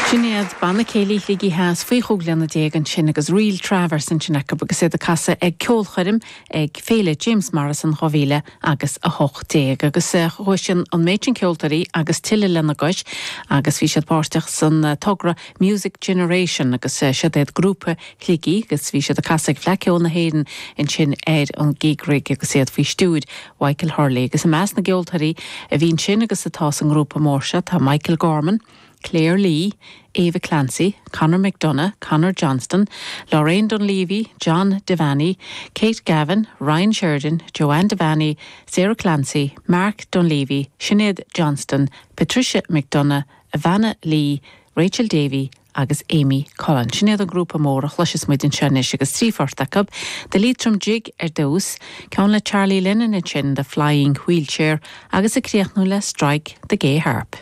Sin iad Banna Céilí Shligigh Theas faoi chúig bhliana déag ansin agus Ríl Travers ansin acu agus iad ag casadh ag ceolchoirm ag Féile James Morrison 2000 agus 18. Agus chuaigh sin an méid sin ceoltóirí agus tuilleadh lena gcois agus bhí siad páirteach san togra Music Generation agus siod iad grúpa Shligigh agus bhí siad ag casadh ag Fleadh Ceoil na hÉireann ansin ar an gig rig agus iad faoi stiúir Mhichael Hurley. Agus i measc na gceoltóirí a bhí ansin agus atá sa ngrúpa mór seo tá Michael Gorman, Claire Lee, Ava Clancy, Conor McDonagh, Conor Johnston, Lorraine Dunleavy, John Devaney, Kate Gavin, Ryan Sheridan, Joanne Devaney, Sarah Clancy, Mark Dunleavy, Sinéad Johnston, Patricia McDonagh, Ivana Lee, Rachel Davey agus Amy Cullen. Sin iad an grúpa mór a chloisfeas muid anseo anois agus trí phort acu, The Leitrim Jig ar dtús, ceann le Charlie Lennon ansin, The Flying Wheelchair agus ag críochnú le Strike the Gay Harp.